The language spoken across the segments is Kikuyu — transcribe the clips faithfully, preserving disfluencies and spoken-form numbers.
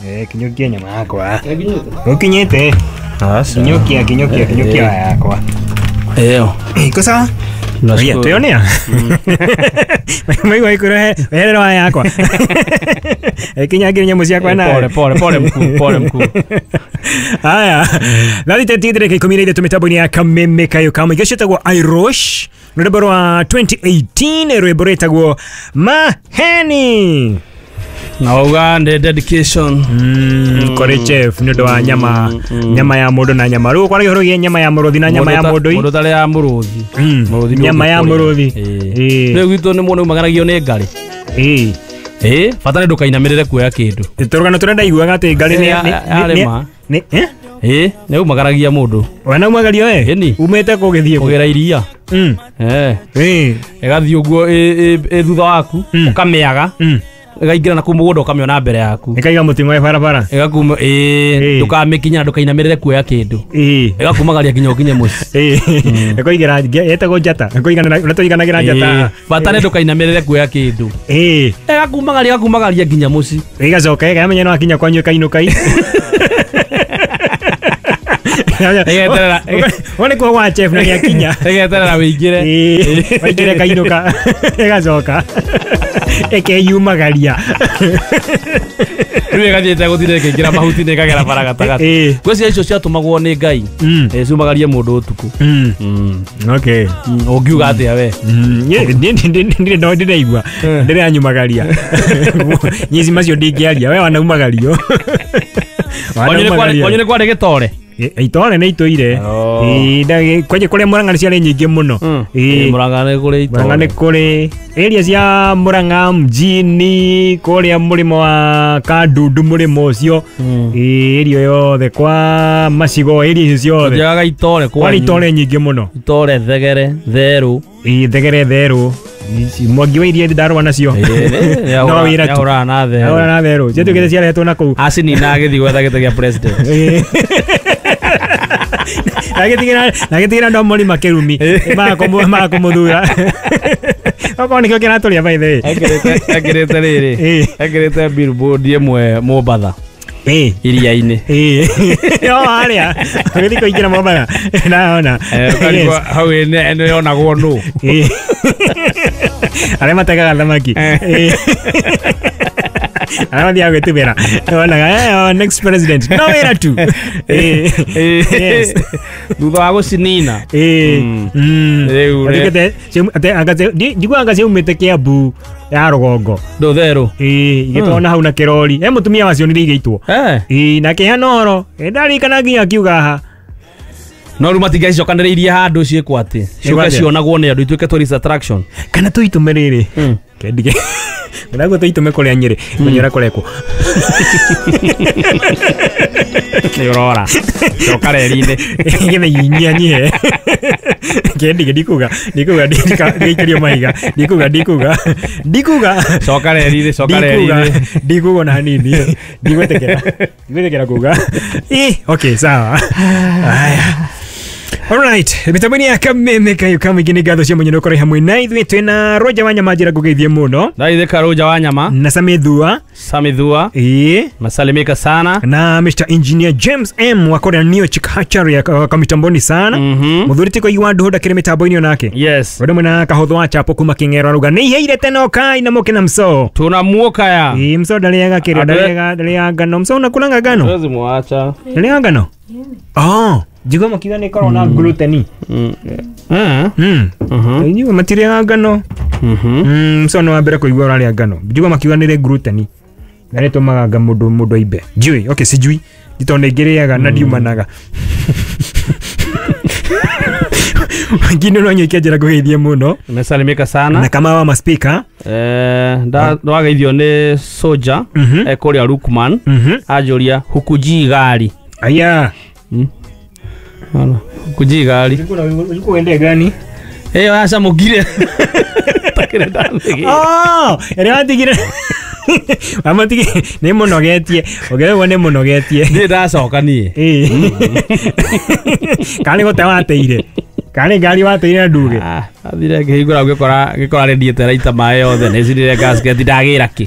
Eh, kinyukia nyama yakwa. Ukinyete. Kinyukia, kinyukia, kinyukia yakwa. Eo. Iko sawa? Oye, tuyonea. Maigua ikurehe weherera waya yakwa. Kinyangire nyamũ ciakwa nawe. Pole pole pole mkuu, pole mkuu. Haya. Nathi tete ikumi na ithatũ mĩtambo-inĩ ya Kameme Kayo Kamwe. Gĩcio ĩtagwo Irosh. Rwĩmbo rwa twenty eighteen rwĩmbo rwĩtagwo Maheni. Na wauga nĩ dedication. Mm, kũrĩ chef nĩ ũndũ wa nyama nyama ya mũndũ na nyama. Rĩu kwaragia ũhoro wĩgiĩ nyama ya mũrũthi na nyama ya mũndũ. Mũndũ ũtarĩ ya mũrũthi. Mũrũthi nyama ya mũrũthi. Ĩĩ. Rĩu gwitũ nĩ mũndũ umagaragio nĩ ngarĩ. Ĩĩ. Ĩĩ, bata nĩ ndũkainamĩrĩre kuoya kĩndũ. Tũrũgano tũrĩa ndaiguaga atĩ ngarĩ nĩ nĩ eh? Ĩĩ, nĩ umagaragia mũndũ. Wana umagario we? Umĩte kũ gĩthiĩ kũ? Kũgĩra iria. Mm. Eh. Ĩĩ. Ĩgathiĩ ũguo ĩ thutha waku, ũkamĩaga. Ĩgaingĩra na kũu mũgũnda ũkamĩona mbere yaku. Ĩkaiga mũting'oe barabara. Ĩgakuma ĩĩ, ndũkamĩkinya ndũkainamĩrĩre kuoya kĩndũ. Ĩĩ. Ĩgakumagaria nginya ũkinye mũciĩ. Ĩĩ. Ĩkoigĩra ĩtagwo njata. Ĩkoiganĩra ũrĩa tũiganagĩra njata. Bata nĩ ndũkainamĩrĩre kuoya kĩndũ. Ĩĩ. Ĩgakumagaria ĩgakumagaria nginya mũciĩ. Ĩgacoka ĩkamenya no akinya kwanyu ĩkainũka. Ĩgeterera wone kwa wa chef na nĩakinya. Ĩgeterera wĩingĩre. Ĩĩ. Waingĩre kainũka. Ĩgacoka. Ĩkeyumagaria. Rĩu ĩgathiĩte gũtirĩ ĩkĩingĩra mahuti-inĩ ĩkagera bara gatagatĩ. Ngwĩciria icio ciatũmagwo nĩ Ngai. Ciumagarie mũndũ ũtukũ. Okay. Ũngiuga atĩa we? Niĩ ndirĩ ndĩraigua. Ndĩranyumagaria. Nyici macio ndingĩaria. We wanaumagario. Kwanyu nĩ kwarĩ gĩtore? Itore nĩ itũire. Ĩĩ, kwanja kũrĩa Murang'a nĩ ciarĩ nyingĩ mũno. Ĩĩ, Murang'a nĩ kũrĩ itore. Murang'a nĩ kũrĩ area cia Murang'a mjini, kũrĩa mũrĩmo wa Kandundu mũrĩmo ũcio. Ĩĩ, area yothe kwa macigo area icio ciothe. Tũthiaga itore kwanyu. Kwarĩ itore nyingĩ mũno. Itore thegere, therũ. Ĩĩ, thegere therũ. Mwangi wa iria ndarũa nacio. No wĩra tu. Nĩahũraga na therũ. Nĩahũraga na therũ. Ciatuĩkĩte ciarehetwo na kũu. Acinina agĩthiĩ gwetha gĩtĩ gĩa president. Agĩtigĩra agĩtigĩra andũ a mũrima kĩrumi maga kũmũthura. Okorwo nĩkĩo kĩratũrĩa by the way. Ekĩrĩte rĩrĩ. Ekĩrĩte billboard ĩmwe Mombatha. Ĩĩ. Iria-inĩ. Ĩĩ. No harĩa. Ũgĩthiĩ kũingĩra Mombatha. Ndahona. Hau nĩ yonagwo nũ. Ĩĩ. Arĩa mategaga thamaki. Ĩĩ. Arĩa mathiaga gwĩtubĩra. Wonaga next president. No wĩra tu. Ĩĩ. Thutha wa gũcinina. Ĩĩ. Rĩu njiguaga anga ciaumĩte Kĩambu ya rũgongo. Ndũ therũ. Ĩĩ, igĩtwarwo hau na kĩrori. He mũtumia wacionire igĩitwo. Ĩĩ, na akĩheana ũhoro. Ndarikana nginya akiuga haha. No rĩu matingĩacicokanĩrĩirie handũ ciĩkwo atĩ. Ciũke cionagwo nĩ andũ ituĩke tourist attraction. Kana tũitũme rĩrĩ. Kendige. Ndaguo tũitũme kũrĩa Nyĩrĩ. Menye ũrĩa kũrekwo. Nĩ ũrora. Coka reri-inĩ. Nĩgetha inyihanyihe. Kendige ndikuga. Ndikuga ndigaikirio mahiga. Ndikuga ndikuga. Ndikuga. Coka reri-inĩ, coka reri-inĩ. Ndikuga ona hanini. Ndigwĩtĩkĩra. Ndigwĩtĩkĩra kuga. Ĩ, okay, sawa. Haya. Alright, mĩtambo-inĩ ya Kameme Kayo Kamwe nĩ ngatho cia mũnyino kũrĩ hamwe na ithuĩ twĩna Roger Wanyama njĩra ngũgeithie mũno. Ndaithĩka Roger Wanyama. Na Samithua. Samithua. Ĩĩ. Nasalimika sana. Na Mister Engineer James M wa kũrĩa Neo Chikachari kwa mitamboni sana. Mũthuri ti kũigua ndũhũ ndakĩrĩ mĩtambo-inĩ onake. Yes. Ũndũ mwena Kahũthũ wa Chapo kuma Kĩng'ero aruga nĩ iheire tene ũkai na mũke na mso. Tunamuokaya. Ĩĩ, mso ndarĩaga kĩrĩa ndarĩaga ndarĩaga ngano. Mso unakulanga ngano? Siwezi muacha. Ndarĩaga ngano? Oh. Njigua makiuga nĩ ĩkoragwo na gluten. Mm. Mm. Njigua matirĩaga ngano. Mm, mso no wa mbere kũigua ũrarĩa ngano. Njigua makiuga nĩ gluten. Na nĩ tũmaga nga mũndũ mũndũ aimbe. Njui, okay, sijui. Tondũ ngĩrĩaga na ndiumanaga. Wengine no nyike njĩra ngũgeithie mũno. Nimesalimika sana. Na kama wa maspika. Eh, nda ndwageithio nĩ Soja e kũrĩa Lukman. Anjũria hukuji gari. Aya. Hana, hukuji gari. Ulikuwa uende gani? Eh, yacamũkire. Takĩrĩ ndathigire. Oh, ĩrĩa watigire. Amatige nĩ mũnogetie. Ũngĩrwo nĩ mũnogetie. Nĩ ndacoka niĩ. Ĩĩ. Kana nĩ gũte wateire. Kana nĩ ngari wateire na nduge. Ah, athire ngĩhingũra ngĩkora ngĩkora radiator ĩraita maĩ yothe nĩ cinire gasket ndagĩra kĩ.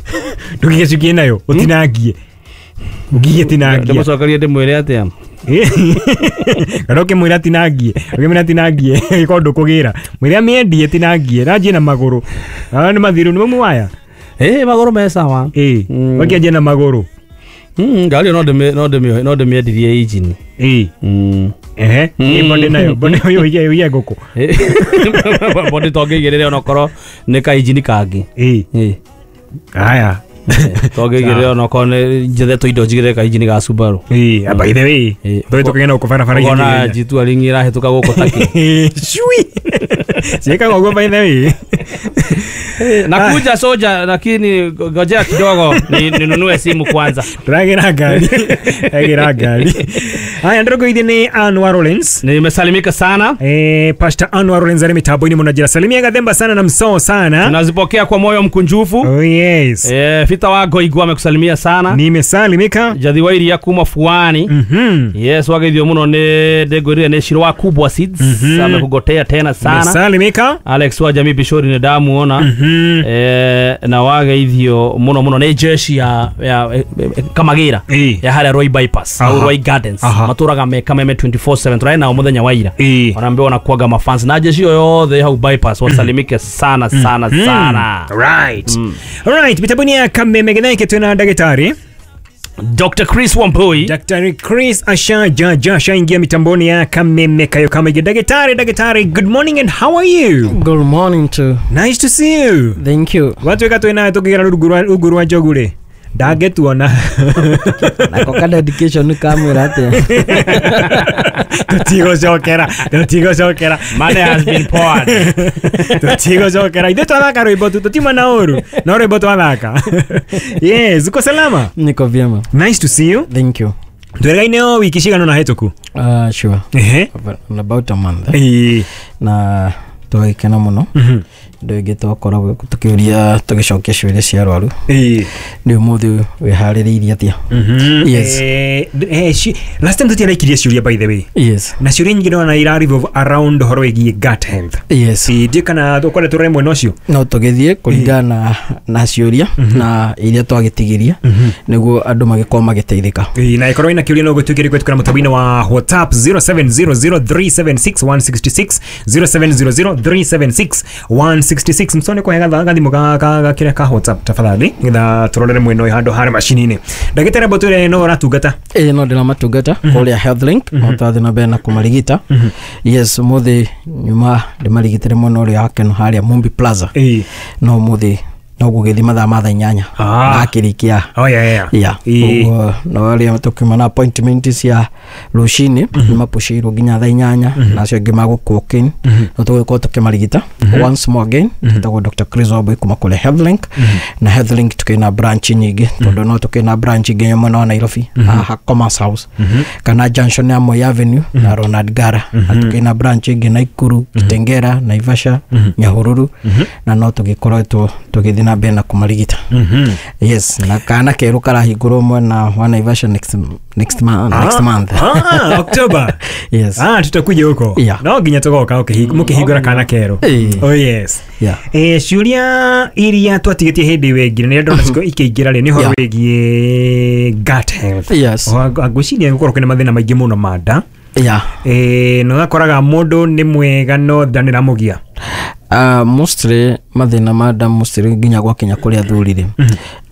Ndũgĩgĩcukie nayo ũtinangie. Ũngigie tinangia. Ndĩmũcokerie ndĩmwĩre atĩa? Kana ũkĩmwĩra tinangie, ũkĩmwĩra tinangie, ĩkorwo ndũkũgĩra. Mwĩre amĩendie tinangie, ranjie na magũrũ. Ah, nĩ mathiru nĩ mamu waya. Ĩ magũrũ me sawa. Ĩ, Mm. wakĩanjia na magũrũ. Mm, ngari ĩyo no ndĩmĩ- no ndĩmĩ- no ndĩmĩendirie injini. Ĩ. Mm. Ehe, ĩ body nayo, body ũyũ ũige ũige ngũkũ. Body tongĩigĩrĩre onokorwo nĩ ka injini kangĩ. Ĩ. Ĩ. Haya. Tongĩigĩrĩre onokorwo nĩ njethetwo indo njigĩrĩre ka injini ga Subaru. Ĩ, by the way, Ĩ. tũĩ tũkĩgenda gũkũ barabara Ũkona G two ringi ĩrahĩtũka gũkũ taki. Cui. Ciĩkaga ũguo by the way. Nakuja soja, lakini ngojea kidogo ni ninunue simu kwanza. Ndĩragĩra ngari. Agĩra ngari. Haya, ndĩrũngũithie nĩ Anwar Rollins. Nimesalimika sana. Eh, Pastor Anwar Rollins ari mitambo-inĩ mũno njĩra. Salimia Gathemba sana na msoo sana. Tunazipokea kwa moyo mkunjufu. Oh yes. Eh, Fita wa Goigwa amekusalimia sana. Nimesalimika. Jathi wa iria kuma Fuani. Mhm. Yes, wageithio muno nĩ ndĩngwĩrire nĩ Shiro wa Kubwa Seeds. Mhm. Amekugotea tena sana. Nimesalimika. Alex wa Jamii Bishori nĩ ndamuona. Mhm. Eh, na wageithio muno muno nĩ jeshi ya, ya eh, eh, Kamagĩra Ĩ. ya harĩa Roy Bypass Aha. au Roy Gardens. Aha. Matũraga me Kameme twenty-four seven tũrarĩ nao mũthenya wa ira. Ĩ. Wanaambiwa wanakuaga mafans na jeshi hiyo yothe hau bypass wasalimike sana sana sana. Right. Alright, mitambo-inĩ ya Kameme gĩtheke twĩna ndagĩtarĩ Doctor Chris Wambui. Daktari Chris ashajaja ashaingia mitamboni ya Kameme kayo kama ige. Daktari, daktari, good morning and how are you? Good morning too. Nice to see you. Thank you. Watuĩka twĩ nawe tũkĩgera rungu rwa rungu rwa njogu rĩ ndangĩtuona. Nako ka dedication kamwĩra atĩa? Tũtigũcokera, tũtigũcokera. Money has been poured. Tũtigũcokera. Ithuĩ twathaka rwĩmbo tu, tũtiuma na ũru no rwĩmbo twathaka. Yes, uko salama? Niko vyema. Nice to see you. Thank you. Twĩrĩgaine o wiki cigana ũna hĩtũku. Uh, sure. Ehe. About a month. Eh? Ĩĩ. Na twagĩkena mũno. Mhm. Ndũ ĩngĩ twakoragwo tũkĩũria tũgĩcokia ciũria cia arwaru. Ĩĩ. Nĩ ũmũthĩ wĩharĩrĩirie atĩa? Mhm. Yes. Eh, eh, ci- last time tũtiaraikirie ciũria by the way. Yes. Na ciũria nyingĩ ndona ira revolve around ũhoro wĩgiĩ gut health. Yes. Ĩĩ, ndiĩ kana tũkwenda tũrore mwena ũcio. No tũgĩthiĩ kũringana na, na ciũria na iria twagĩtigiria nĩguo andũ magĩkorwo magĩteithĩka. Ĩĩ, na ĩkorwo ĩna kĩũria no gũtuĩke kũhetũkĩra mũtambo-inĩ wa WhatsApp zero seven zero zero three seven six one six six, zero seven zero zero three seven six one six six. Msone kwa gatha gathimũ ga ga ga kĩrĩa ka WhatsApp tafadhali nĩgetha tũrorere mwena ũyũ handũ harĩ macini-inĩ. Ndagĩtarĩ amba ũtwĩre no ũratungata. Ĩĩ, no ndĩramatungata kũrĩa Healthlink, no twathiĩ na mbere na kũmarigita. Yes, ũmũthĩ nyuma ndĩmarigitĩre mwena ũrĩa wa Keno harĩa Mumbi Plaza. Ĩĩ. No ũmũthĩ no gũgĩthiĩ mathaa ma thaa inyanya. Ah. Ndakĩrĩkia. Oh yeah yeah. Yeah. Ĩĩ. Ũguo no arĩa tũkiuma na appointment cia rũcinĩ nĩmapushĩirwo nginya thaa inyanya na acio angĩ magũkũ walk in no tũgũgĩkorwo tũkĩmarigita once more again. Tũtagwo Doctor Chris Wambui kuma kũrĩa Healthlink, na Healthlink tũkĩna branch nyingĩ tondũ no tũkĩna branch nginya mwena wa Nairobi haha Commerce House kana junction ya Moi Avenue na Ronald Gara, na tũkĩna branch ĩngĩ Naikuru, Kitengera, Naivasha, Nyahururu, na no tũgĩkoretwo tũgĩthiĩ na mbere na kũmarigita. Mhm. Yes, na kana kerũ karahingũrwo mwena wa Naivasha next next month, next month. Ah, October. Yes. Ah, tutakuja huko. Yeah. No nginya tũgoka mũkĩhingũra kana kerũ. Ĩĩ. Oh yes. Yeah. Eh, ciũria iria twatigetie hĩndĩ ĩyo ĩngĩ nĩ ndona ciko ikĩingĩra rĩ nĩ ũhoro Yeah. wĩgiĩ gut health. Yes. Ngwĩciria gũkorwo kwĩna mathĩna maingĩ mũno ma nda. Yeah. Eh, na ũgakoraga mũndũ nĩ mwega no nda nĩ ĩramũgia. Uh, mostly mathĩna ma nda mostly nginya gwakinya kũrĩ athuri rĩ,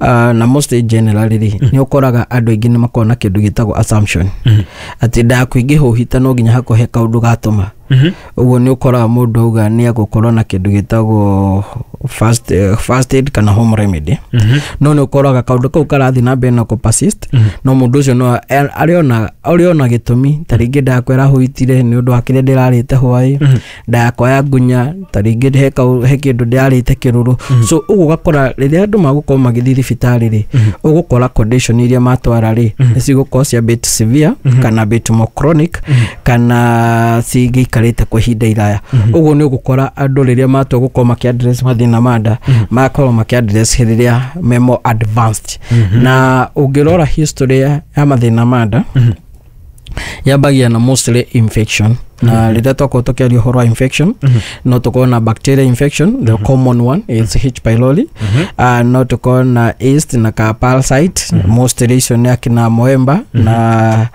uh, na mostly generally rĩ, nĩ ũkoraga andũ aingĩ nĩ makoragwo na kĩndũ gĩtagwo assumption atĩ nda yaku ĩngĩhũhita no nginya hakorwo he kaũndũ gatũma. Ũguo nĩ ũkoraga mũndũ auga nĩ egũkorwo na kĩndũ gĩtagwo first, uh, first aid kana home remedy, no nĩ ũkoraga kaũndũ kau karathiĩ na mbere na kũ persist, no mũndũ ũcio no arĩona arĩona gĩtũmi ta rĩngĩ nda yakwa ĩrahũhitire nĩ ũndũ wa kĩrĩa ndĩrarĩte hwaĩ, nda yakwa ya ngunya ta rĩngĩ he kau he kĩndũ ndĩrarĩte kĩrũrũ. So ũguo ũgakora rĩrĩa andũ magũkorwo magĩthiĩ thibitarĩ rĩ, ũgũkora condition iria matwara rĩ nĩ cigũkorwo cia bit severe kana bit more chronic kana cigĩikarĩte kwa ihinda iraya. Ũguo nĩ ũgũkora andũ rĩrĩa matua gũkorwo makĩ address mathĩna ma nda magakorwo makĩ address rĩrĩa me more advanced. Na ũngĩrora history ya mathĩna ma nda Yambagia na mostly infection, na rĩrĩa twakorwo tũkĩaria ũhoro wa infection, no tũkorwo na bacteria infection. The common one is H pylori. uh, no tũkorwo na yeast na ka parasite. Mostly icio nĩ akina moemba na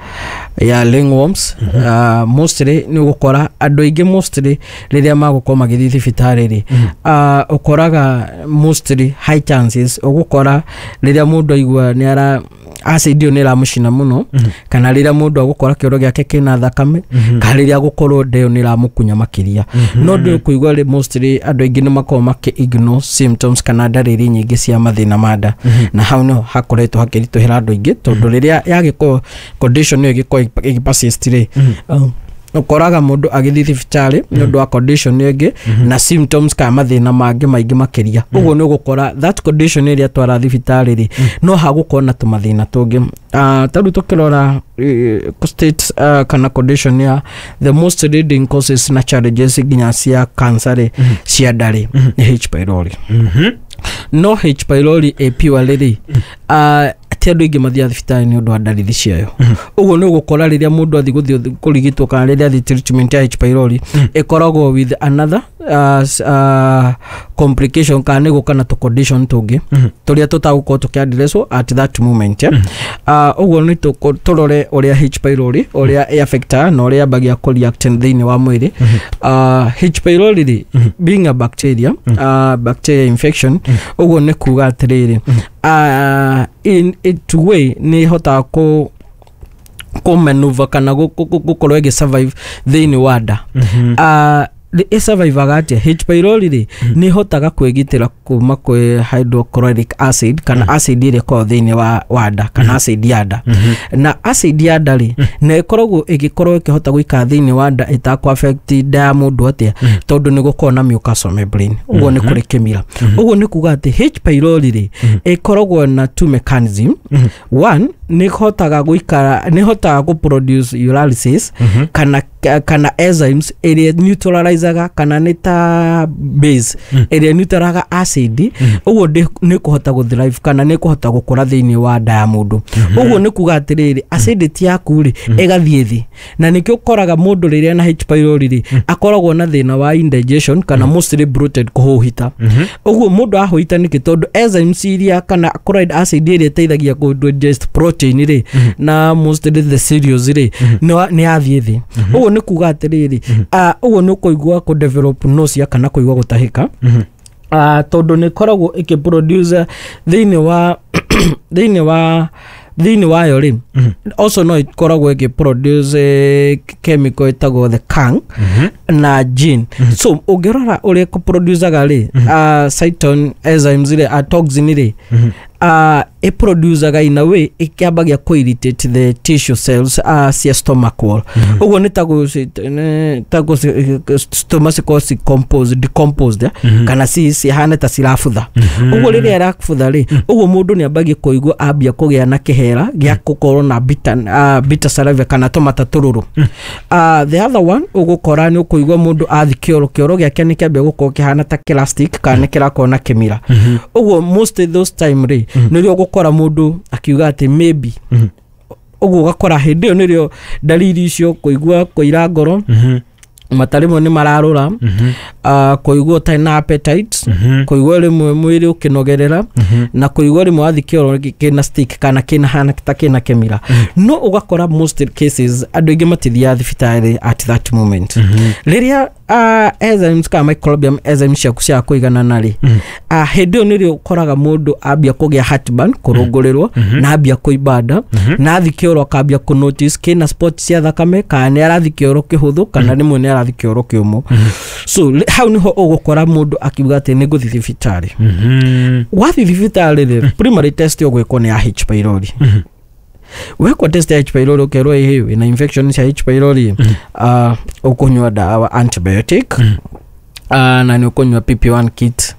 ya ringworms. uh, mostly nĩ ũgũkora andũ aingĩ, mostly rĩrĩa magũkorwo magĩthiĩ thibitarĩ rĩ, uh, ũkoraga mostly high chances ũgũkora rĩrĩa mũndũ aigua nĩ ara acid ĩyo nĩ ĩramũcina mũno, kana rĩrĩa mũndũ agũkora kĩoro gĩake kĩna thakame, kana rĩrĩa agũkorwo nda ĩyo nĩ ĩramũkunya makĩria. No ndũ kũigua rĩ, mostly andũ aingĩ nĩ makoragwo makĩ ignore symptoms kana ndariri nyingĩ cia mathĩna ma nda, na hau nĩho hakoretwo hakĩritũhĩra andũ aingĩ, tondũ rĩrĩa yagĩkorwo condition ĩyo ĩgĩkorwo ĩgĩ persist rĩ, um, ũkoraga mũndũ agĩthiĩ thibitarĩ nĩ ũndũ wa condition ĩngĩ na symptoms kana mathĩna mangĩ maingĩ makĩria. Ũguo nĩ ũgũkora that condition ĩrĩa twara thibitarĩ rĩ, no hagũkorwo na tũmathĩna tũngĩ. uh, ta rĩu tũkĩrora eh, state uh, kana condition ya the most leading causes na challenges nginya cia cancer rĩ, cia nda rĩ, nĩ H pylori. No H pylori ĩ purely rĩ, uh, ti andũ aingĩ mathiaga thibitarĩ nĩ ũndũ wa ndariri ciayo. Ũguo nĩ ũgũkora rĩrĩa mũndũ athiĩ gũthiĩ kũrigitwo kana rĩrĩa athiĩ treatment ya H pylori, ĩkoragwo with another uh, s- uh, complication kana nĩ gũka na tũ condition tũngĩ tũrĩa tũtagũkorwo tũkĩaddresswo at that moment, yeah? uh, ũguo nĩ tũkũ- tũrore ũrĩa H pylori ũrĩa ĩ-affectaga na ũrĩa yambagia kũreact thĩinĩ wa mwĩrĩ. uh, H pylori rĩ, being a bacteria, uh, bacteria infection, ũguo nĩ kuga atĩrĩrĩ, uh, in it way nĩ ĩhotaga kũ kũmanuva kana gũ- gũ- gũ- gũkorwo ĩgĩ survive thĩinĩ wa nda. uh, ĩsurvivaga atĩa? H pylori rĩ, nĩ ĩhotaga kwĩgitĩra kuma kwĩ hydrochloric acid kana acid ĩrĩa ĩkoragwo thĩinĩ wa, wa nda kana acid ya nda. Na acid ya nda rĩ, na ĩkoragwo ĩgĩkorwo ĩkĩhota gũikara thĩinĩ wa nda ĩtakũ affect nda ya mũndũ atĩa? Tondũ nĩ gũkorwo na mucosal membrane, ũguo nĩ kũrĩ kĩmira. Ũguo nĩ kuga atĩ H pylori rĩ, ĩkoragwo na two mechanism. One, nĩ ĩhotaga gũikara, nĩ ĩhotaga gũ produce ureases kana kana enzymes ĩrĩa neutralizaga kana nĩ ta base ĩrĩa neutralaga acid. Ũguo ndĩ- nĩ kũhota gũ thrive kana nĩ kũhota gũkũra thĩinĩ wa nda ya mũndũ. Ũguo nĩ kuga atĩrĩrĩ, acidity yaku rĩ, ĩgathiĩ thĩ, na nĩkĩo ũkoraga mũndũ rĩrĩa na H pylori rĩ, akoragwo na thĩna wa indigestion kana mostly bloated, kũhũhita. Ũguo mũndũ ahũhita nĩkĩ? Tondũ enzymes iria kana chloride acid ĩrĩa ĩteithagia kũ digest protein rĩ, na mostly the cereals rĩ, nĩ wa- nĩ yathiĩ thĩ. Ũguo nĩ kuga atĩrĩrĩ, ah, ũguo nĩ ũkũigua kũ develop nausea kana kũigua gũtahĩka, uh, tondũ nĩ ĩkoragwo ĩkĩ thĩinĩ wa thĩinĩ wa thĩinĩ wayo rĩ. Also no ĩkoragwo ĩkĩ produce eh, chemical ĩtagwo the kang na gene. So ũngĩrora ũrĩa ĩkũproducaga rĩ, uh, cyton enzymes rĩ, uh, toxin rĩ, uh, ĩproducaga in a way ĩkĩambagia kũ irritate the tissue cells uh, cia stomach wall. Ũguo nĩ ta gũ- nĩ ta gũ- stomach cikorwo ci composed decomposed, eh? Kana ci cihane ta cirabutha. Ũguo rĩrĩa ĩrabutha rĩ, ũguo mũndũ nĩ ambagia kũigua ambia kũgĩa na kĩhera gĩa gũkorwo na bitter, uh, bitter saliva kana tũmata tũrũrũ. uh, the other one, ũgũkora nĩ ũkũigua mũndũ athi kĩoro, kĩoro gĩake nĩ kĩambia gũkorwo kĩhana ta kĩlastic kana nĩ kĩrakorwo na kĩmira. Ũguo most of those time rĩ, nĩrĩo ũgũkora mũndũ akiuga atĩ maybe. Ũguo ũgakora hĩndĩ ĩyo nĩrĩo ndariri icio, kũigua kũira ngoro, mata rĩmwe nĩ mararũra, uh, kũigua ũtarĩ na appetite, kũigua rĩmwe mwĩrĩ ũkĩnogerera, na kũigua rĩmwe wathi kĩoro kĩna stick kana kĩna hana ta kĩna kĩmira. No ũgakora most cases andũ aingĩ matithiaga thibitarĩ at that moment. Rĩrĩa uh, enzymes kana microbiome enzymes ciaku cia kũiganana rĩ, uh, hĩndĩ ĩyo nĩrĩo ũkoraga mũndũ ambia kũgĩa heartburn, kũrũngũrĩrwo, na ambia kũimba nda, na athi kĩoro akambia kũ notice kĩna spot cia thakame, kana nĩ arathi kĩoro kĩhũthũ, kana rĩmwe nĩ arathi kĩoro kĩũmũ. So li- hau nĩho ũgũkora mũndũ akiuga atĩ nĩ ngũthiĩ thibitarĩ. Wathiĩ thibitarĩ rĩ, primary test ũgwĩkwo nĩ ya H pylori. Wekwo test ya H pylori, ũkerwo ĩhĩ wĩna infection cia H pylori, uh, ũkũnyua ndawa antibiotic, uh, na nĩ ũkũnyua P P one kit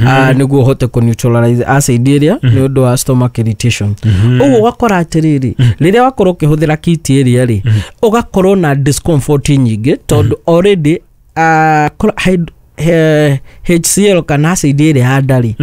uh, nĩguo ũhote kũ neutralize acid ĩrĩa nĩ ũndũ wa stomach irritation. Ũguo ũgakora atĩrĩrĩ, rĩrĩa wakorwo ũkĩhũthĩra kit ĩrĩa rĩ, ũgakorwo na discomfort nyingĩ tondũ already uh, hyd- eh, H C L kana acid ĩrĩa ya nda-rĩ,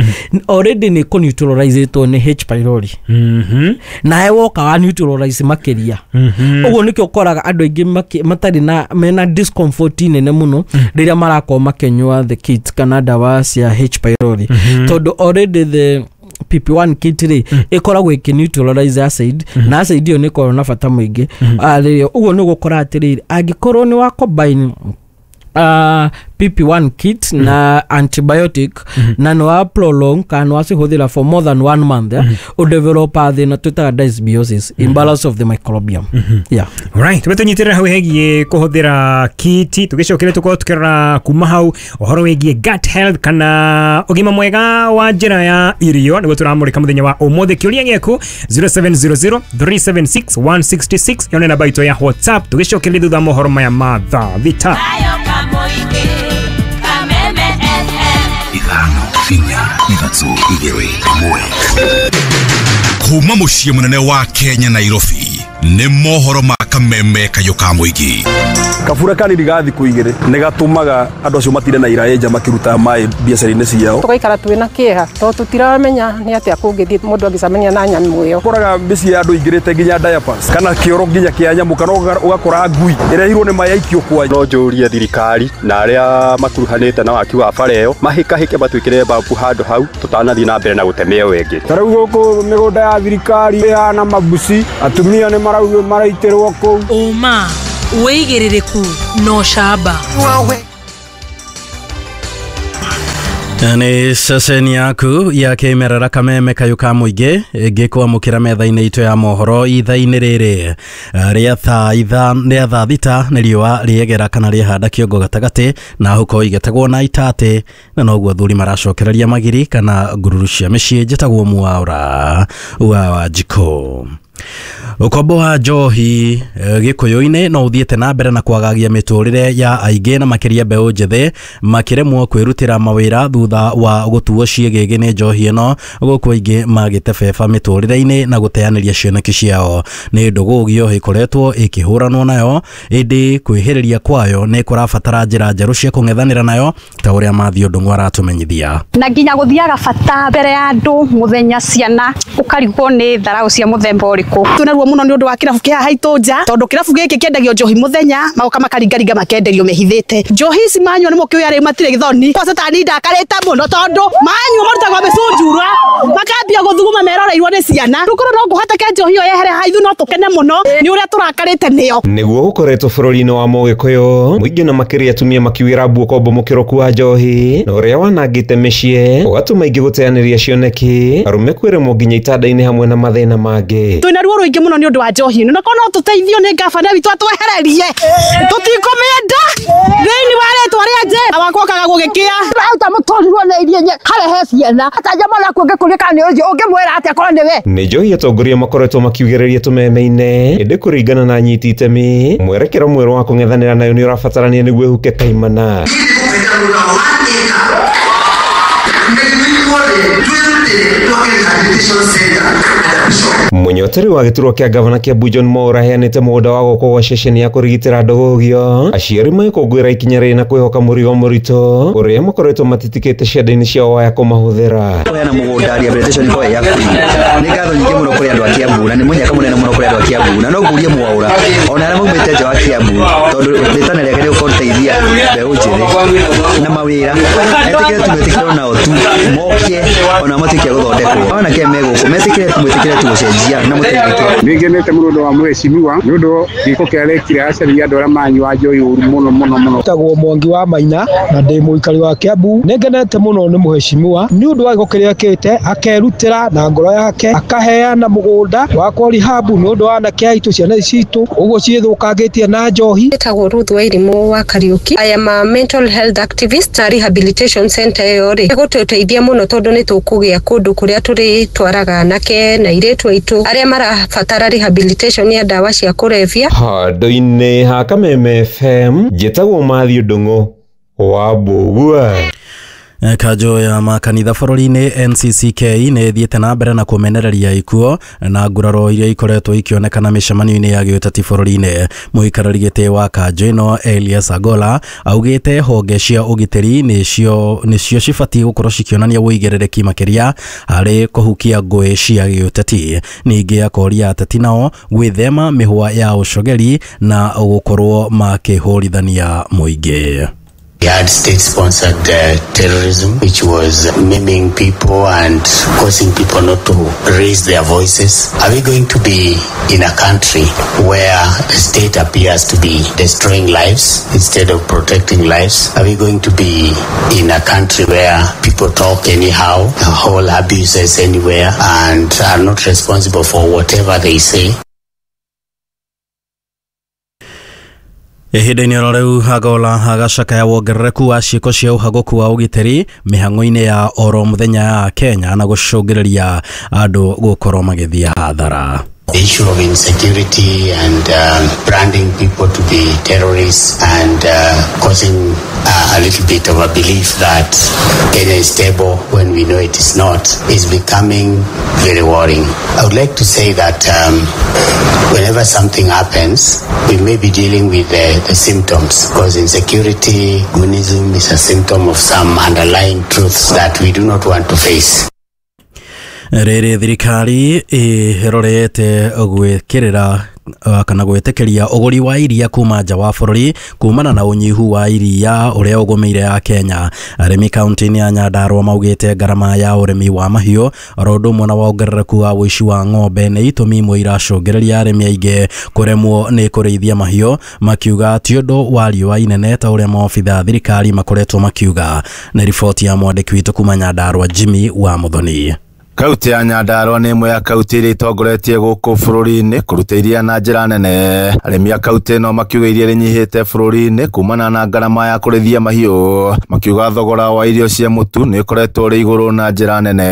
already nĩ kũ-neutralize-ĩtwo nĩ H pylori. Mhm. Nawe woka wa neutralize makĩria. Mhm. Ũguo nĩkĩo ũkoraga andũ aingĩ maki- matarĩ na mena discomfort nene mũno rĩrĩa marakorwo makĩnyua the kit kana ndawa cia H pylori, tondũ already the P P one kit rĩ ĩkoragwo ĩkĩ neutralize acid, na acid ĩyo nĩ ĩkoragwo na bata mũingĩ. Ah, rĩrĩa ũguo nĩ ũgũkora atĩrĩrĩ, angĩkorwo nĩ wa combine Uh, P P one kit mm -hmm. na antibiotic mm -hmm. na no prolong kana wacihũthĩra for more than one month, mm -hmm. udevelopa thĩna twĩtaga dysbiosis, mm -hmm. imbalance of the microbiome. mm -hmm. Yeah. Right, tũnyitĩrĩra hau hegiĩ kũhũthĩra kiti, tũgĩcokere tũkorwo tũkĩrora kuma hau ũhoro wĩgiĩ gut health kana ũgima mwega wa njĩra ya irio nĩguo tũramũrĩka mũthenya wa ũmũthĩ. Kĩũria gĩaku zero seven zero zero three seven six one six six yone namba itũ ya WhatsApp. Tũgĩcokereria thutha mohoro maya ma thaa thita. Ithano inya ithatũ igĩrĩ ĩmwe. Kuma mũciĩ mũnene wa Kenya Nairobi nĩ mohoro ma Kameme Kayũ ka Mũingĩ. Kabura kanini ga thikũ igĩrĩ nĩ gatũmaga andũ acio matinde na iraĩ nja makĩruta maĩ biacara-inĩ ciao. Tũgaikara twĩna kĩeha tondũ tũtiramenya nĩ atĩa kũngĩthiĩ mũndũ angĩcemania na nyamũ ĩyo. Ũkoraga mĩciĩ ya andũ ingĩrĩte nginya diapers kana kĩoro nginya kĩa nyamũ, kana ũgakora ngui ĩrehirwo nĩ maĩ aikio kwa. No njũrie thirikari na arĩa makuruhanĩte na waki wa bara ĩyo mahĩkahĩke matwĩkĩre babu handũ hau tũtanathiĩ na mbere na gũteme ĩyo ĩngĩ. Ta rĩu gũkũ mĩgũnda ya thirikari ĩhana mabuci, atumia nĩ maraugio maraitĩrwo kũu. Ũma wĩigĩrĩrĩku no camba. Nĩ ceceni yaku ya kĩmerera Kameme Kayũ ka Mũingĩ ĩngĩkwamũkĩra metha-inĩ itũ ya mohoro ithaa-inĩ rĩrĩ rĩa thaa itha rĩa thaa thita nĩ riũa rĩegera kana rĩhanda kĩongo gatagatĩ na huko igetagwo na itatĩ, na noguo athuri maracokereria magiri kana ngururu cia mĩciĩ. Njĩtagwo Mwaura wa Wanjikũ. Ũkombo wa njohi gĩkũyũ-inĩ no ũthiĩte na mbere na kwagagia mĩtũrĩre ya aingĩ na makĩria mbeũ njĩthĩ makĩremwo kwĩrutĩra mawĩra thutha wa gũtuo ciĩgĩgĩ nĩ njohi ĩno, gũkũ aingĩ magĩte beba mĩtũrĩre-inĩ na gũteanĩria cioneki ciao. Nĩ ndũgũgio ĩkoretwo ĩkĩhũranwo nayo, ĩndĩ kwĩhĩrĩria kwayo nĩ kũrabatara njĩra njerũ cia kũng'ethanĩra nayo ta ũrĩa Mathiũ Ndung'u aratũmenyithia. Na nginya gũthiaga bata mbere ya andũ mũthenya ciana ũkarigwo nĩ tharaũ cia mũthemba ũrĩkũ. Twĩna ruo mũno nĩ ũndũ wa kĩrabu kĩa haitũ nja, tondũ kĩrabu gĩkĩ kĩendagio njohi mũthenya magoka makaringaringa makenderio mehithĩte. Njohi ici manyua nĩ mũkĩũĩ arĩ matirĩ gĩthoni kwa satani ndakarĩte mũno tondũ manyua marutagwo mĩcunjura makambia gũthuguma meroreirwo nĩ ciana. Rũkorwo no ngũhatake njohi ĩyo yehere haithu no tũkene mũno nĩ ũrĩa tũrakarĩte nĩyo. Nĩguo gũkoretwo bũrũri-inĩ wa Mũgĩkũyũ mũingĩ na makĩria atumia makiuĩra mbu ũkombo mũkĩrũku wa njohi na ũrĩa wanangĩte mĩciĩ ũgatũma aingĩ gũteanĩria cioneki, arũme kwĩremwo nginya itanda-inĩ hamwe na mathĩna mangĩ. Twĩna ruo rũingĩ mũno nĩ ũndũ wa njohi ĩno, na korwo no tũteithio nĩ ngabana witũ atwehererie tũtikũmĩenda thĩinĩ wa rĩtwa rĩa Jesũ. Wakwa kaga gũgĩkĩa auta mũtũrirwo nĩ iria harĩa he ciana atanja mwana waku ũngĩkũria kana nĩ ũcio ũngĩmwĩra atĩa korwo nĩ we. Nĩ njohi atongoria makoretwo makiugĩrĩria tũmeme-inĩ, ĩndĩ kũringana na anyiti itemi mwerekero mwerũ wa kũng'ethanĩra nayo nĩ ũrabatarania nĩguo ĩhuke kaimana. Mũnyoteri wa gĩturwa kĩa gavana Kiambu John Mwaura aheanĩte mũgũnda wa gwakwo gwa ceceni ya kũrigitĩra ndũgũgio aciari magĩkũngũĩra ikinya rĩrĩ na kwĩhoka mũrigo mũritũ ũrĩa makoretwo matitikĩte cianda-inĩ ciao waya kũmahũthĩra. Kũheana mũgũnda rehabilitation ĩkorwo ĩ ya free. Nĩ ngatho nyingĩ mũno kũrĩ andũ a Kiambu na nĩ mũnyaka mũnene mũno kũrĩ andũ a Kiambu, na no ngũrie Mwaura ona arĩa maumĩte nja wa Kiambu tondũ rĩtana rĩake nĩ gũteithia mbeũ njĩthĩ na mawĩra metĩkĩre tu metĩkĩre nao tu moke ona matuĩke a gũthondekwo anake me gũkũ metĩkĩre tu metĩkĩre tu gũcenjia na mũteithĩke. Nĩ ngenete mũno ũndũ wa mheshimiwa nĩ ũndũ gĩko kĩrĩa arekire acaria andũ arĩa manyua njohi ũru mũno mũno mũno. Tagwo Mwangi wa Maina na ndĩ mũikari wa Kiambu. Nĩ ngenete mũno nĩ mheshimiwa nĩ ũndũ wa gĩko kĩrĩa ekĩte, akerutĩra na ngoro yake akaheana mũgũnda wakwo rehab nĩ ũndũ wa anake aitũ ciana ici citũ ũguo ciĩthũkangĩtie na njohi. Njĩtagwo Ruth Wairimu wa Kariuki. I am a mental health activist na rehabilitation center ĩyo rĩ ĩgũtũteithia mũno tondũ nĩ tũkũgĩa kũndũ kũrĩa tũrĩtwaraga anake na airĩtu aitũ arĩa marabatara rehabilitation ya ndawa cia kũrebia. Handũ-inĩ ha Kameme F M njĩtagwo Mathiũ Ndung'u wa Mbũgua. Kanjũ ya makanitha bũrũri-inĩ N C C K nĩ ĩthiĩte na mbere na kũmenereria ikuo na nguraro iria ikoretwo ikĩonekana mĩcemanio-inĩ ya gĩũteti bũrũri-inĩ. Mũikarĩri gĩtĩ wa kanjũ ĩno Elias Agola augĩte honge cia ũgitĩri nĩcio nĩcio cibatiĩ gũkorwo cikĩonania ũigĩrĩrĩki makĩria harĩ kũhukia ngũĩ cia gĩũteti. Ningĩ akoria ateti nao gwĩthema mĩhwa ya ũcogeri na gũkorwo makĩhũrithania mũingĩ. We had state-sponsored uh, terrorism, which was maiming people and causing people not to raise their voices. Are we going to be in a country where the state appears to be destroying lives instead of protecting lives? Are we going to be in a country where people talk anyhow, hold abuses anywhere, and are not responsible for whatever they say? Ihinda-inĩ oro rĩu Agola agacakaya wongerereku wa ciĩko cia ũhagũku wa ũgitĩri mĩhang'o-inĩ ya oro mũthenya ya Kenya na gũcũngĩrĩria andũ gũkorwo magĩthiĩ hathara. The issue of insecurity and um, branding people to be terrorists and uh, causing uh, a little bit of a belief that Kenya is stable when we know it is not is becoming very worrying. I would like to say that um, whenever something happens, we may be dealing with the, the symptoms, because insecurity, goonism is a symptom of some underlying truths that we do not want to face. Rĩrĩ thirikari ĩrorete gwĩkĩrĩra kana gwĩtĩkĩria ũgũri wa iria kuma nja wa bũrũri kumana na ũnyihu wa iria ũrĩa ũgũmĩire ya Kenya. Arĩmi kaunti-inĩ ya Nyandarua maugĩte ngarama ya ũrĩmi wa mahiũ oro ũndũ ũmwe na wongerereku wa ũici wa ng'ombe nĩ itũmi imwe iracũngĩrĩria arĩmi aingĩ kũremwo nĩ kũrĩithia mahiũ, makiuga ti ũndũ wa riũa inene ta ũrĩa maobitha thirikari makoretwo makiuga. Nĩ riboti ya mwandĩki witũ kuma Nyandarua Jimmy wa Muthoni. Kaunti ya Nyandarua nĩ ĩmwe ya kaunti iria itongoretie gũkũ bũrũri-inĩ kũruta iria na njĩra nene. Arĩmi a kaunti ĩno makiuga iria rĩnyihĩte bũrũri-inĩ kumana na ngarama ya kũrĩithia mahiũ, makiuga thogora wa irio cia mũtu nĩ ũkoretwo ũrĩ igũrũ na njĩra nene.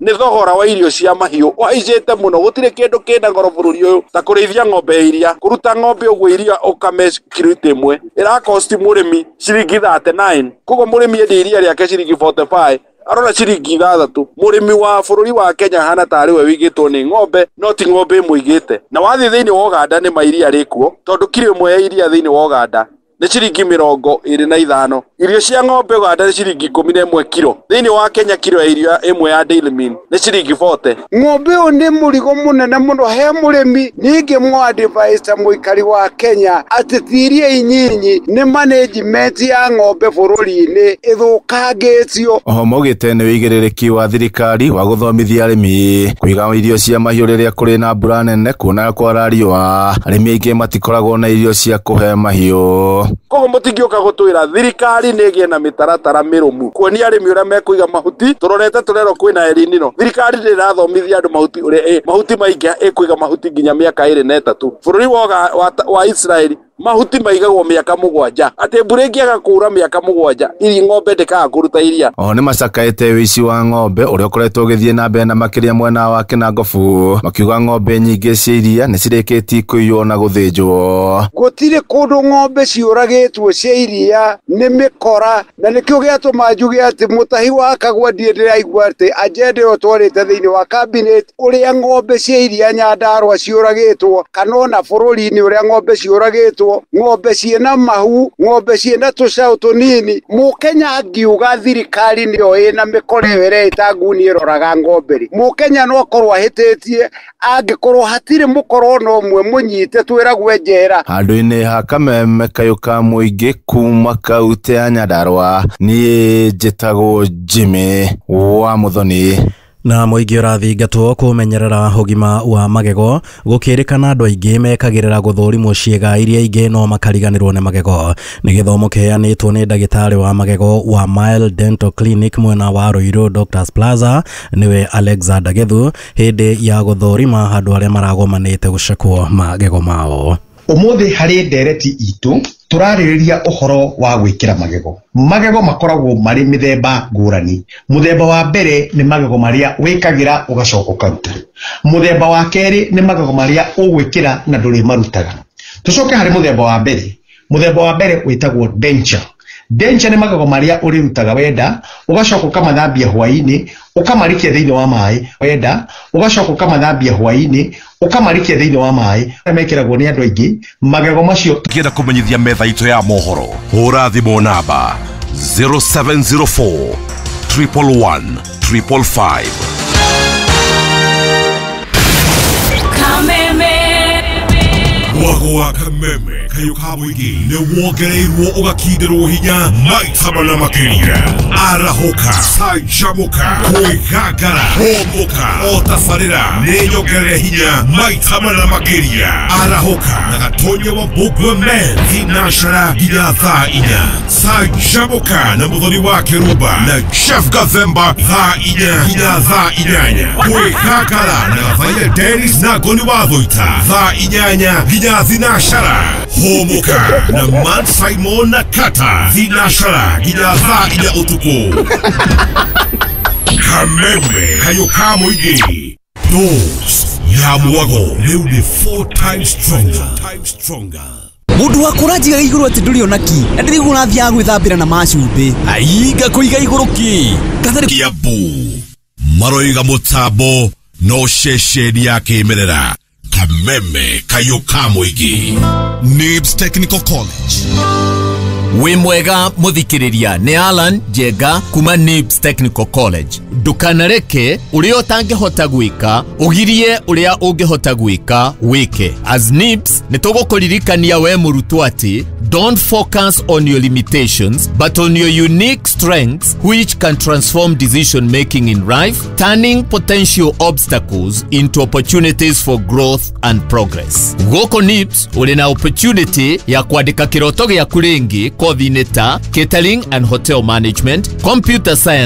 Nĩ thogora wa irio cia mahiũ ũhaicĩte mũno, gũtirĩ kĩndũ kĩna goro bũrũri ũyũ ta kũrĩithia ng'ombe ya iria. Kũruta ng'ombe ũguo iria ũkame kiriti ĩmwe ĩrakosti mũrĩmi ciringi thirty nine, koguo mũrĩmi endia iria rĩake ciringi forty five arora ciringi ithathatũ. Mũrĩmi wa bũrũri wa Kenya hana tarĩ we wĩigĩtwo nĩ ng'ombe no ti ng'ombe ĩmũigĩte. Na wathiĩ thĩinĩ wa Uganda nĩ ma iria rĩkuo, tondũ kiro ĩmwe ya iria thĩinĩ wa Uganda nĩ ciringi mĩrongo ĩrĩ na ithano. Irio cia ng'ombe Uganda nĩ ciringi ikũmi na ĩmwe kiro, thĩinĩ wa Kenya kiro ya iria ĩmwe ya Daily Meal nĩ ciringi forty. Ng'ombe ũyũ nĩ mũrigo mũnene mũno he mũrĩmi. Ningĩ mũ-advise mũikari wa Kenya atĩ ti iria inyinyi nĩ management ya ng'ombe bũrũri-inĩ ĩthũkangĩtio. Oho maugĩte nĩ ũigĩrĩrĩki wa thirikari wa gũthomithia arĩmi kũiga irio cia mahiũ rĩrĩa kũrĩ na mbura nene, kuona kwara riũa arĩmi aingĩ matikoragwo na irio cia kũhe mahiũ. Koguo mũtingĩũka gũtwĩra thirikari nĩ ĩgĩe na mĩtaratara mĩrũmu kuonia arĩmi ũrĩa mekũiga mahuti. Tũrorete tũrerwo kwĩna El Nino, thirikari ndĩrathomithia andũ mahuti ũrĩa mahuti maingĩ ĩkũiga mahuti nginya mĩaka ĩrĩ na ĩtatũ. Bũrũri wa, wa, wa Israeli mahuti maigagwo mĩaka mũgwanja, atĩ mbura ĩngĩaga kuura mĩaka mũgwanja iri ng'ombe ndĩkaga kũruta iria. Oho nĩ macakaĩte ũici wa ng'ombe ũrĩa ũkoretwo ũgĩthiĩ na mbere na makĩria mwena wa Kĩnangobu, makiuga ng'ombe nyingĩ cia iria nĩ cirĩkĩtie kũiywo na gũthĩnjwo. Gũtirĩ kũndũ ng'ombe ciũragĩtwo cia iria nĩ mĩkora, na nĩkĩo gĩatũma njuge atĩ mũtahi wa Kagwa ndiĩ ndĩraigua atĩ agenda ĩyo twarĩte thĩinĩ wa cabinet ũrĩa ng'ombe cia iria Nyandarua ciũragĩtwo kana ona bũrũri-inĩ ũrĩa ng'ombe ciũragĩtwo, ng'ombe ciĩna mahu, ng'ombe ciĩna tũcaũ tũnini. Mũkenya angiuga thirikari nĩyo ĩna mĩkora ĩyo ĩreĩta nguni ĩroraga ng'ombe rĩ, mũkenya no akorwo ahĩtĩtie angĩkorwo hatirĩ mũkora ona ũmwe mũnyite twĩragwe njera. Handũ-inĩ ha kameme kayũ ka mũingĩ kuma kaunti ya Nyandarua, niĩ njĩtagwo Jimmy wa Muthoni. Na mũingĩ ũrathingatwo kũmenyerera ũgima wa magego gũkĩrĩkana andũ aingĩ mekagĩrĩra gũthũrimwo ciĩga iria ingĩ no makariganĩrwo nĩ magego. Nĩ gĩthomo kĩheanĩtwo nĩ ndagĩtarĩ wa magego wa Mile Dental Clinic mwena wa Ruiru Doctors Plaza nĩwe Alexander Gethu hĩndĩ ya gũthũrima andũ arĩa maragomanĩte gũcekwo magego mao. Ũmũthĩ harĩ ndereti itũ tũrarĩrĩria ũhoro wa gwĩkĩra magego. Magego makoragwo marĩ mĩthemba ngũrani. Mũthemba wa mbere nĩ magego marĩa wĩkagĩra ũgacoka ũkaruta. Mũthemba wa kerĩ nĩ magego marĩa ũgwĩkĩra na ndũrĩmarutaga. Tũcoke harĩ mũthemba wa mbere. Mũthemba wa mbere wĩtagwo denture. Denture nĩ magego marĩa ũrĩrutaga wenda, ũgacoka ũkamathambia hwaĩ-inĩ, ũkamarikia thĩinĩ wa maĩ wenda, ũgacoka ũkamathambia hwaĩ-inĩ, ũkamarikia thĩinĩ wa maĩ. Mekĩragwo nĩ andũ aingĩ magego macio. Ngĩenda kũmenyithia metha itũ ya mohoro, hũra thimũ namba zero seven zero four triple one triple five. Kameme. Mwago wa Kameme kayo ka mũingĩ nĩ wongereirwo ũgakindĩrwo hinya maita mana makĩria. Arahũka, canjamũka, kwĩgangara, hũmũka, o tabarĩra nĩ nyongerere hinya maita mana makĩria. Arahũka na Gatonya wa Mbũngwe Men thinacara nginya thaa inya. Canjamũka na Mũthoni wa Kĩrumba na Jeff Gathemba thaa inya nginya thaa inyanya. Kwĩgangara na Gathaia Dennis na Ngoni wa Thũita thaa inyanya nginya thinacara. Hũmũka na Man Simon na Kata thinacara nginya thaa inya ũtukũ. Kameme kayo ka mũingĩ. Dose ya mwago rĩu nĩ four times stronger. Mundu wa kũranjiga igũrũ atĩ ndũrĩ ona ki na ndĩrĩguo ũrathiaga gwĩthambĩra na macumbĩ ainga kũiga igũrũ ki. Kiambu maroiga mũtambo no ceceni ya kĩmerera. Kameme kayo ka mũingĩ. Nibs Technical College. Wĩ mwega mũthikĩrĩria, nĩ Alan Njenga kuma Nibs Technical College. Ndũkanareke ũrĩa ũtangĩhota gwĩka ũgirie ũrĩa ũngĩhota gwĩka wĩke. As Nibs nĩ tũgũkũririkania we mũrutwo atĩ don't focus on your limitations but on your unique strengths which can transform decision making in life, turning potential obstacles into opportunities for growth and progress. Gũkũ Nibs ũrĩ na opportunity ya kwandĩka kĩroto gĩaku rĩngĩ kothi-inĩ ta catering and hotel management, computer science,